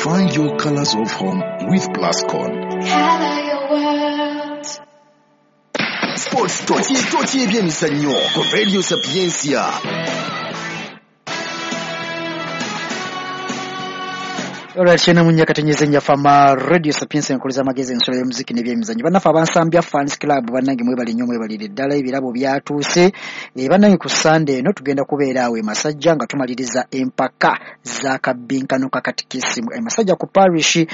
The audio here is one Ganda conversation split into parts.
Find your colors of home with Plascon. Color your world. Sports Tochi ebyemizannyo ku Radio Sapientia. Alright, shena munya katenyeze nyafama Radio Sapientia nkuliza amagezi ensolo y'omuziki n'ebyemizannyo. Bannaffe abansambya Fans Club bannange mwebale nnyo mwebalire ddala ebirabo byatuuse. Bannange ku Sunday eno tugenda kubeera awo e Masajja nga tumaliriza empaka za kabbinkano ka katikisimu. E Masajja ku parish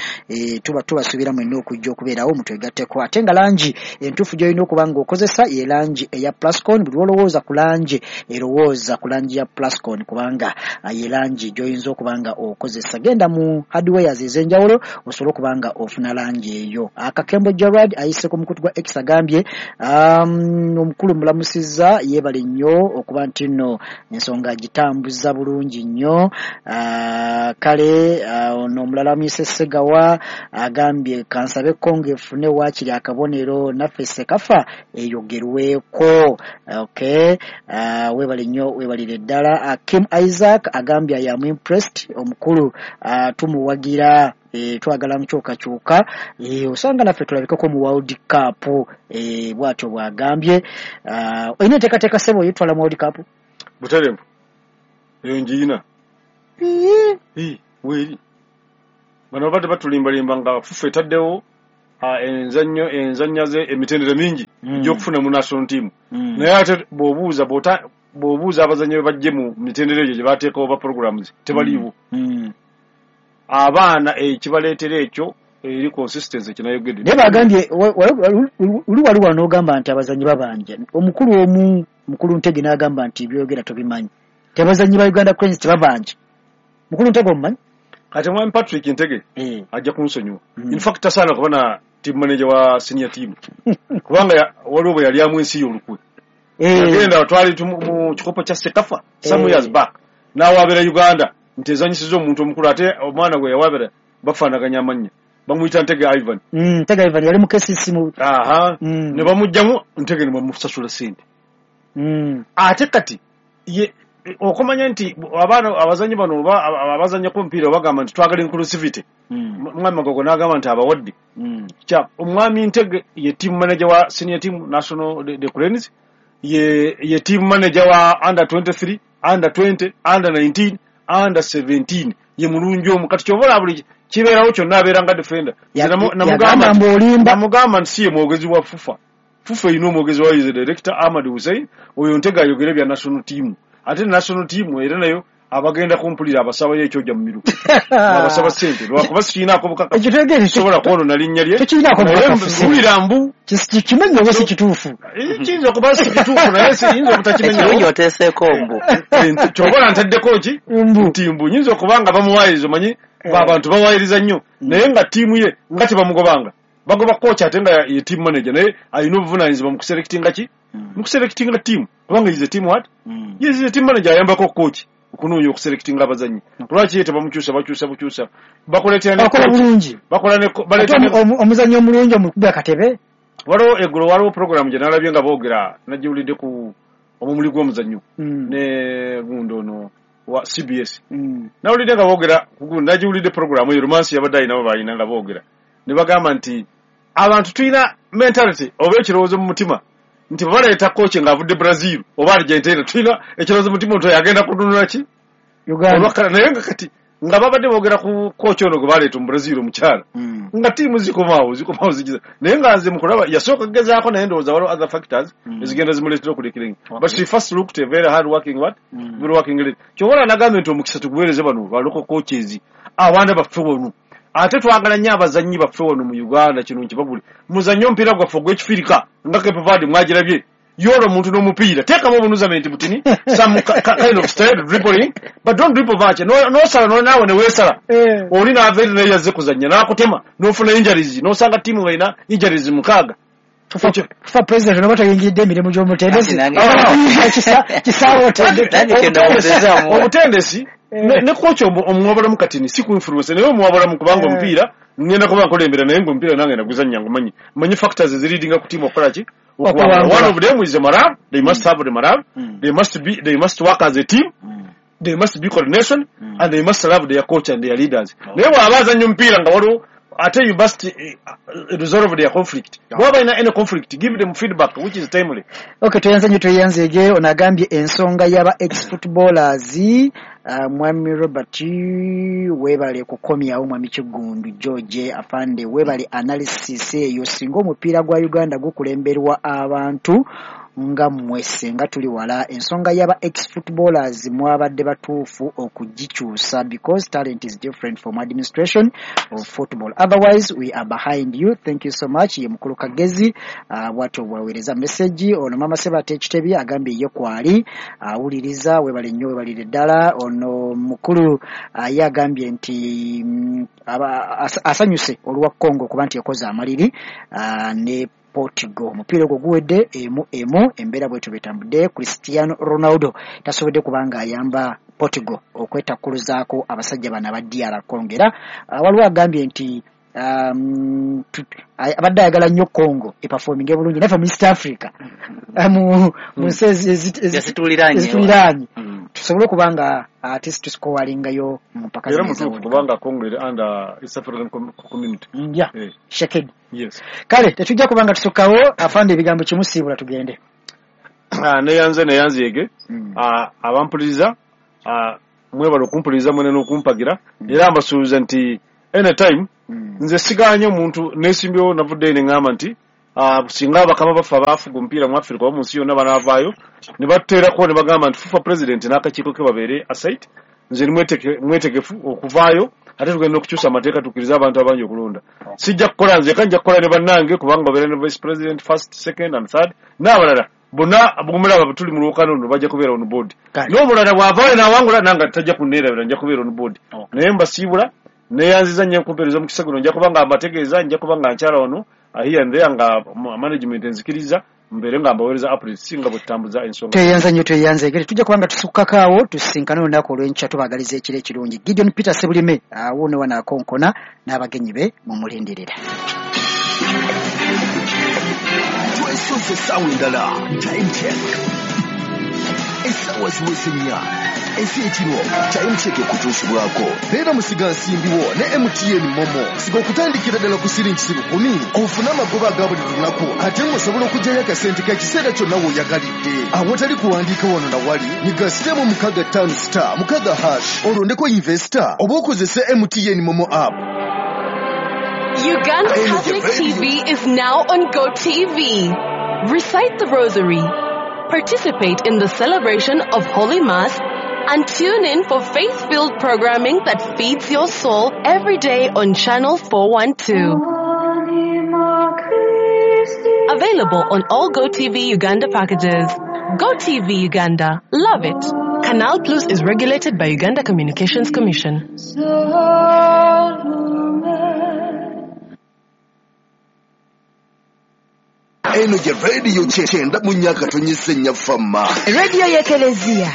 tuba tubasuubira mwenna okujja okubeerawo mutwegatteko. Ate nga langi entuufu gy'olina okuba ng'okozesa ye langi eya Plascon. Buli lw'olowooza ku langi erowooza ku langi ya Plascon kubanga ye langi gy'oyinza okuba nga okozesa. Genda mu hardwares ez'enjawulo osobola okuba nga ofuna langi eyo. Akakembo Gerard ayise ku mukutu gwa X agambye omukulu mulamusizza yeebale nnyo okuba nti nno ensonga agitambuza bulungi nnyo. Kale ono omulala amuyise Ssegawa agambye kansabe Kongo efune waakiri akabonero naffe Sekafa eyogerweko. Okay, weebale nnyo weebalire ddala. Kim Isaac agambye I am impressed omukulu tumuwagira twagala nkyukakyuka osanga naffe tulabikeko mu World Cup bw'atyo bw'agambye. Olina enteekateeka ssebo oyitwala mu World Cup? Butereevu eyo ngiina weeri bano babadde batulimbalimba nga FUFA etaddewo enzannya ze emitendera mingi egy'okufuna mu national team. Naye ate bw'obuuza abazannyi be bajje mu mitendera egyo gye bateekawo ba programs tebaliiwo. Abaana ekibaleetera ekyo eri consistency kinayogedde. Naye bagambye oli wali wano ogamba nti abazannyi babanja. Omukulu omu mukulu Ntege n'agamba nti byogera tobimanyi. Tebazannyi ba Uganda Cranes tebabanja. Mukulu Ntege omumanyi? Kati mwami Patrick Ntege ajja kunsonyiwa. In fact tasaana kuba na team manager wa senior team. Kubanga waliwo bwe yali amu ensi y'olukwe. Yagenda twali mu kikopo kya Sekafa some years back. N'awaabira Uganda nti ezanyisiza omuntu omukulu ate omwana gwe yawaabira bafaanaganya amannya. Bamuyita Ntege Ivan. Ntege Ivan yali mu KCC mu aha ne bamuggyamu Ntege ne bamusasula ssente. Ate kati ye okumanya nti abaana abazannyi bano oba abazannya ku mupiira bagamba nti twagala inclusivity. Omwami Magogo n'agamba nti abawadde. Kya omwami Ntege ye team manager wa senior team national the Cranes, ye team manager wa under 23, under 20, under 19, under 17. Ye mulungi omu kati ky'obola buli kibeerawo kyonna abeera nga defender. Namugamba nti si ye mwogezi wa FUFA. FUFA erina omwogezi waayo ye director Ahmad Hussein, oyo Ntege ayogera bya national team. Ate national team era nayo abagenda kumpulira abasabayo ekyojja mu miruka. Abasaba ssente lwakuba sikiinaako bukakafu. Sobola kwonoona linnya lye. Tekiinaako bukakafu. Mpulira mbu. Kimenye oba si kituufu. Kiyinza okuba si kituufu naye siyinza obutakimenya. Ekirungi oteeseeko mbu. Ky'obola ntaddeko ki? Nti mbu nyinza okuba nga bamuwaayiriza omanyi abantu bawaayiriza nnyo naye nga ttiimu ye nga tebamugobanga. Bagoba coach ate nga ye team manager naye alina obuvunaanyizibwa mu kuselectinga ki? Mu kuselectinga team. Kubanga is a team what? Yes, is a team manager ayambako coach okunoonya okuselectinga abazannyi. Lwaki ye tebamukyusa bakyusa bukyusa. Bakoleetera ne bakola bulungi. Bakola ne baleeta omuzannyi omulungi omukubi akatebe. Waliwo eggulo waliwo program gye nalabye nga boogera nagiwulidde ku omumuli gw'omuzannyo ne gundi ono wa CBS. Nawulidde nga boogera nagiwulidde program eyo Romansi yabadde alina balina nga boogera. Ne bagamba nti abantu tulina mentality oba ekirowoozo mu mutima nti baleeta coach ng'avudde Brazil oba Argentina tulina ekirowoozo mu mutima nti agenda kununula ki Uganda. Naye nga kati nga babadde boogera ku coach ono gwe baleeta mu Brazil omukyala nga ttiimu zikomaawo zigiza naye nga nze mukulaba yasooka kugezaako naye ndowooza waliwo other factors ezigenda zimuleetera okulekerenge. But she first looked a very hard working what? Very working lady. Ky'obola nagambye nti omukisa tuguweereze bano ba local coaches abaana baffe wano. Ate twagala nnyo abazannyi baffe wano mu Uganda kino nkibagule. Muzannye omupiira gwaffe ogw'ekifirika nga Cape Verde mwagirabye. Yola omuntu n'omupiira teekamu obunuzamenti butini some kind of style dribbling but don't dribble much. N'osala naawe ne weesala. Oli n'ava eri naye yazze kuzannya n'akutema n'ofuna injuries n'osanga ttiimu ng'erina injuries 6. Fufa president onoba toyingiridde emirimu gy'omutendesi. Kisaawe otendeke. Obutendesi ne coach omuwabulamu katini si ku influence naye omuwabulamu kubanga omupiira ngenda kuba nkulembera naye ng'omupiira nange naguzannya ngumanyi manyi factors eziridinga ku team okukola ki. One of them is the morale. They must have the morale. They must work as a team. There must be coordination and they must love their coach and their leaders. Naye bw'aba azannya omupiira nga waliwo ate you must resolve their conflict. Bw'aba alina any conflict, give them feedback which is timely. Okay, tweyanze nnyo, tweyanzeege. Ono agambye ensonga y'aba ex footballers. Mwami Robert, weebale kukomyawo. Mwami Kiggundu George Afande, weebale analysis eyo. Singa omupiira gwa Uganda gukulemberwa abantu nga mmwe, senga tuli wala. Ensonga y'aba ex footballers mwabadde batuufu okugikyusa because talent is different from administration of football, otherwise we are behind you. Thank you so much. Ye mukulu Kagezi, bwatyo bwaweereza message. Ono mama Sebate Ekitebi agambye ye kwali awuliriza. Weebale nnyo, weebalire ddala. Ono mukulu ye agambye nti asanyuse olwa Congo okuba nti ekoze amaliri ne Portugal. Omupiira ogwo guwedde 1-1. Embeera bwetyo betambudde. Cristiano Ronaldo tasobodde kubanga ayamba Portugal okwetakkuluzaako abasajja bano aba DR Congo. Era waliwo agambye nti abadde ayagala nnyo Congo eperforminge bulungi naffe mu East Africa, mu nsi ezituliraanye, tusobole okuba nga ate tusikowalingayo mu mpaka. Era mutuufu kubanga Congo eri under East African Community. Yeah. Shekedi. Yes. Kale tetujja kubanga tusukkawo. Afande, ebigambo kimusiibula tugende. Neyanze, neyanzeege. Abampuliriza, mwebale okumpuliriza mwene n'okumpagira. Era mbasuubiza nti anytime nze siganye omuntu nesimbyewo. Navuddeyo ne ŋŋamba nti singa abakama baffe abaafuga omupiira mu Africa oba mu nsi yonna banaavaayo ne batuteerako ne bagamba nti FUFA president n'akakiiko ke babeere aside, nze ndi mwetegefu okuvaayo. Ate tugenda okukyusa amateeka tukkirize abantu abangi okulonda. Sijja kukola nzeka, nja kukola ne bannange, kubanga babeera ne vice president first, second and third n'abalala bonna bwemulaba tuli mu lwokano luno bajja kubeera on board. N'omulala bw'avaayo n'awangula nanga tajja kunneerabira, nja kubeera on board. Naye mbasiibula, neyanziza nnyo enkumpeereza omukisa guno. Nja kuba nga mbategeeza, nja kuba nga nkyala wano here and there nga management enzikiriza mbeere nga mbaweereza updates singa bwe tutambuza ensonga. Tweyanza nnyo, tweyanze. Egere tujja kubanga tusukkako awo, tusisinkane olunaku olw'enkya. Tubaagaliza ekiro ekirungi. Gideon Peter Sebulime wuuno wano akonkona n'abagenyi be mumulindirira. Twesoze essaawa endala. Time check, essaawa ziweze 4 ez'ekiro. Time check ekutuusibwako beera musigansimbiwo ne MTN MoMo. Siga okutandikira ddala ku siringi 1,000 ofune amagoba aga buli lunaku, ate ng'osobola okuggyayo akasente k'ekiseera kyonna w'oyagalidde awatali kuwandiika wano na wali. Nyiga *656*6# olondeko investor oba okozese MTN MoMo app. Uganda Catholic TV is now on GoTV. Recite the Rosary, participate in the celebration of Holy Mass, and tune in for faith-filled programming that feeds your soul every day on Channel 412. Available on all GoTV Uganda packages. GoTV Uganda. Love it. Canal Plus is regulated by Uganda Communications Commission. Eno gye Radio 94.4 Fama. Radio y'Ekelezia.